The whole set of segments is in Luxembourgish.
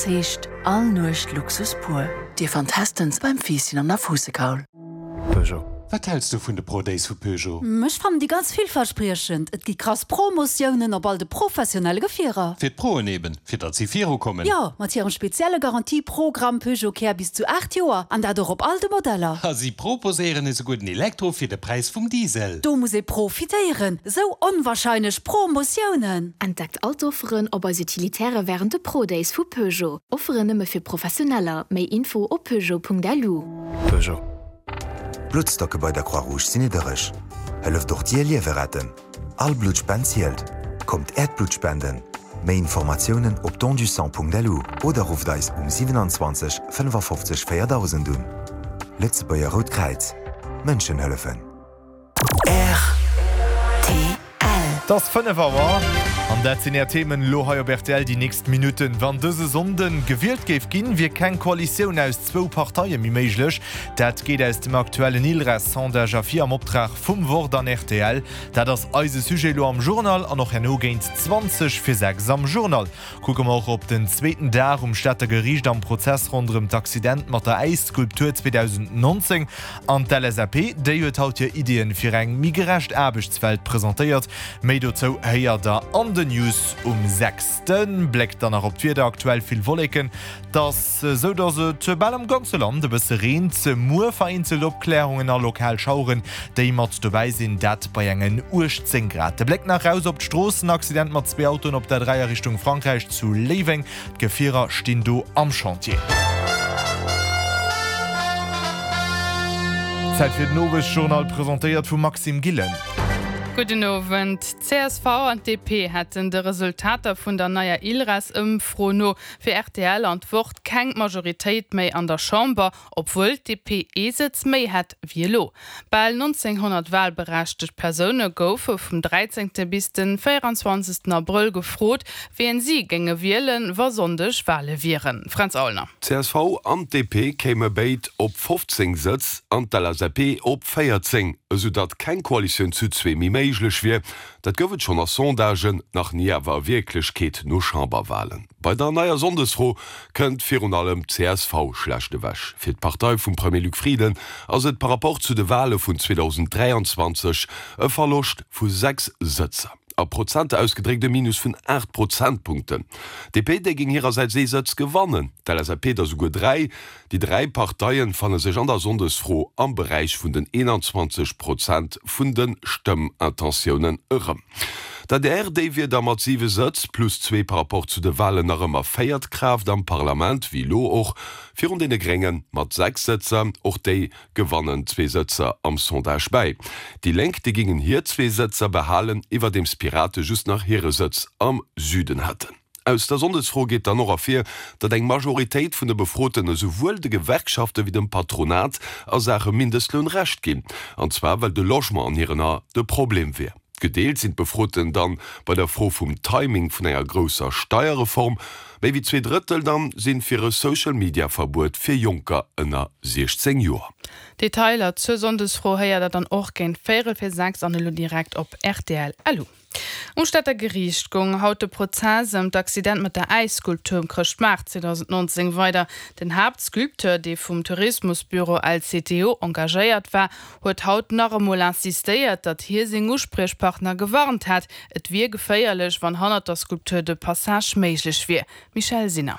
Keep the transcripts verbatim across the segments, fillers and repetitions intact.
Luxus heescht all Nuecht Luxus pur. Dir fannt Hestens beim Fiisschen an der Fuussekaul. Peugeot. Wat häls du vun de Pro Days vu Peugeot? Ech fannen déi ganz villverspriechend. Et gi krass Promotiounen op all de professionelle Gefierer. Fir d'Proen eben, fir datt si virukommen. Jo, mat hirem spezielle Garantieprogramm Peugeot Care bis zu aacht Joer an dat och op all de Modeller. A si proposéieren esouguer den Elektro fir de Präis vum Diesel. Do muss ee profitéieren. Sou onwarscheinlech Promotiounen. Entdeckt all d'Offeren op eis Utilitäre wärend de Pro Days vu Peugeot. Offeren nëmme fir Professioneller. Méi Info op peugeot.lu. Peugeot. Bluttstocke bei der Croix-Rouge sinn niddereg. Hëlleft och dir Liewe retten. All Bluttspend zielt. Kommt äert Blutt spenden. Méi Informatiounen op dondusang.lu oder rufft eis um siwenanzwanzeg fënnefafofzeg véierdausend un. Lëtzebuerger Rout Kräiz. Mënschen hëllefen. Rtl. Et ass fënnef Auer an dat sinn Är Themen elo hei op rtl déi nächst Minutten. Wann dëse Sonnde gewielt géif ginn, wier keng Koalitioun aus zwou Parteie méi méiglech. Dat geet aus dem aktuellen ILReS-Sondage ervir am Optrag vum Wort an rtl. Dat ass eise Sujet elo am Journal an och herno géint zwanzeg vir sechs am Journal kucke mer och op den zweeten Dag um Stater Geriicht am Prozess ronderëm d'Accident mat der Äisskulptur zweedausendnonzéng. An d'L S A P, déi huet haut hir Iddien fir eng méi gerecht Aarbechtswelt presentéiert. Méi dozou héiert der an den News um sechs. De Bléck dann nach op d'Wieder, Aktuell vill Wolleken, et ass esou dass et bal am ganze Land e bësse reent. Muer vereenzelt Opklärungen a lokal Schaueren, déi mat dobäi sinn, dat bei engen uechtzéng Grad. De Bléck nach raus op d'Stroossen, Accident mat zwee Autoen op der dräi a Richtung Frankräich zu Léiweng, d'Gefierer stinn do am Chantier. Zäit fir den Owesjournal, presentéiert vum Maxime Gillen. Gudden Owend. D C S V an D P hätten de Resultater vun der neier ILReS-Ëmfro no fir R T L an d'Wort keng Majoritéit méi an der Chamber, obwuel d'D P ee Sëtz méi hätt wéi elo. Bal nonzénghonnert walberechtegt Persoune goufe vum dräizéngte bis de véieranzwanzegsten Abrëll gefrot, wien si géinge wielen, wa Sonndeg Wale wieren. Fränz Aulner. D C S V an D P kéime béid op fofzéng Sëtz an d'L S A P op véierzéng, esou datt keng Koalitioun zu zwee méi méiglech wier. Dat gouf et schonn a Sondagen, nach ni awer a Wierklechkeet no Chamberwalen. Bei der neier Sonndesfro kënnt virun allem d'C S V schlecht ewech. Fir d'Partei vum Premier Luc Frieden ass et par rapport zu de Wale vun zweedausendräianzwanzeg e Verloscht vu sechs Sëtzer. A Prozenter ausgedréckt e Minus vun aacht Prozentpunkten. D P déi géing hirersäits ee Sëtz gewannen, d'L S A P der souguer dräi. Déi dräi Parteie fanne sech an der Sonndesfro am Beräich vun den eenanzwanzeg Prozent vun de Stëmmintentiounen erëm. D A D R déi wier da mat siwe Sëtz, plus zwee par rapport zu de Walen, nach ëmmer véiert Kraaft am Parlament, wéi elo och, virun deene Grénge mat sechs Sëtzer. Och déi gewannen zwee Sëtzer am Sondage bäi. Déi Lénk déi géingen hir zwee Sëtzer behalen, iwwerdeems d'Pirate just nach hire Sëtz am Süden hätten. Aus der Sonndesfro geet dann och ervir, datt eng Majoritéit vun de Befroten esouwuel de Gewerkschafte wéi dem Patronat a Saache Mindestloun Recht ginn, an zwar well de Logement an hiren Ae de Problem wier. Gedeelt sinn d'Befroten dann bei der Fro vum Timing vun enger grousser Steierreform. Méi wéi zwee Drëttel dann sinn fir e Social-Media-Verbuet fir Jonker ënner siechzéng Joer. Detailer zur Sonndesfro héiert der dann och géint véierel vir sechs an elo direkt op rtl. Lu. Um Stater Geriicht goung haut de Prozess ëm d'Accident mat der Äisskulptur um Chrëschtmaart zweedausendnonzéng weider. Den Haaptsculpteur, dee vum Tourismusbüro L C T O engagéiert war, huet haut nach emol insistéiert, datt hie seng Uspriechpartner gewarnt hätt, et wier geféierlech, wann hannert der Skulptur de Passage méiglech wier. Michèle Sinner.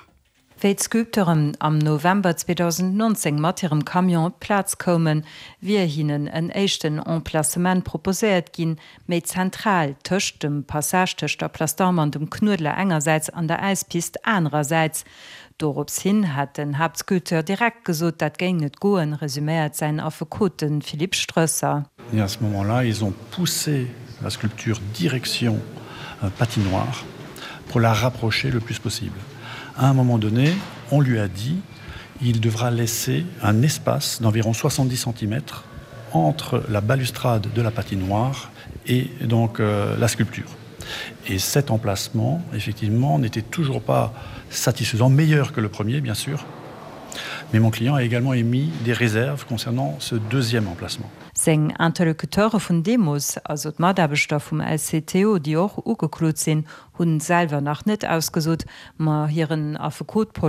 Wéi d'Sculpteuren am November zweedausendnonzéng mat hirem Camion op d'Plaz koumen, wier hinnen en éischten Emplacement proposéiert ginn, méi zentral, tëscht dem Passage tëscht der Place d'Armes an dem Knuedler engersäits an der Äispist anerersäits. Dorops hin hätt den Haaptsculpteur direkt gesot, dat géing net goen, resuméiert säin Affekot, de Philippe Stroesser. Et à ce moment-là, ils ont poussé la sculpture direction patinoire pour la rapprocher le plus possible. À un moment donné, on lui a dit il devra laisser un espace d'environ soixante-dix centimètres entre la balustrade de la patinoire et donc euh, la sculpture. Et cet emplacement, effectivement, n'était toujours pas satisfaisant, meilleur que le premier, bien sûr. Mais mon client a également émis des réserves concernant ce deuxième emplacement. Seng Interlocuteure vun deemools, also d'Mataarbechter vum L C T O, déi och ugeklot sinn, hu selwer nach net ausgesot, ma hiren Affekot Paul